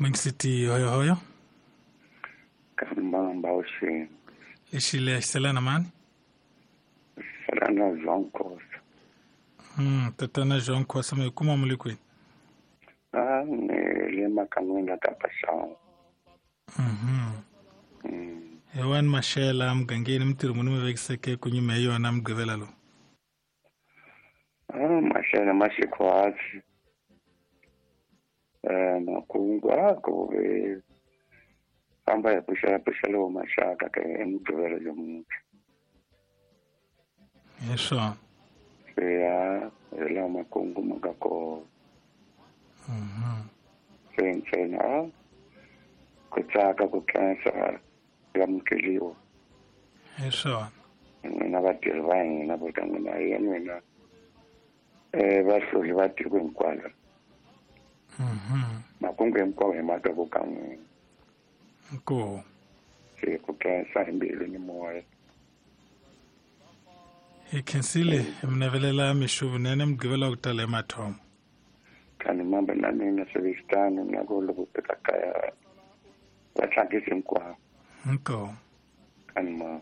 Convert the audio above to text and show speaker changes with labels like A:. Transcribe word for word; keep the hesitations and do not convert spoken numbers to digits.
A: Mixiti hoyohoyo.
B: Kambamba uxini.
A: Lexi xiselana mani?
B: Xiselana João Khosa.
A: Mm, tatana João Khosa mi kuma mu le kwini?
B: Ah, ni le makan'wini ka Paxawu.
A: Mhm.
B: Mm.
A: Hi wani Maxela mugangeni mintirho muni mi vekiseke ku nyuma hi yona Mugqivela lowu?
B: Ah, Maxela ma xikhwatsi. Eh, makungu a ku ve famba hi pfuxela pfuxela wo maxaka ka eMugqivela lomuntlha.
A: Hi swona.
B: Se ya hi laha makungu ma nga kona.
A: Mhm.
B: Se ntsena a ku tsaka ku khensa amukeliwa.
A: Hi swona.
B: N'wina vatirhi va hina vo ka n'wina hi n'wina eh vahluli va tiko hinkwalo.
A: Mhm.
B: Makungu hinkwawo hi ma twa ku ka n'wina.
A: Inkomu.
B: Se ku khensa hi mbilu ni moya.
A: Hi khensile hi mi navelela mixo vunene Mugqivela wa ku tala hi mathomo.
B: Kani mambe na mina swi xitano na ku loko fika kaya va tlangisi hinkwavo.
A: Inkomu.
B: Kani ma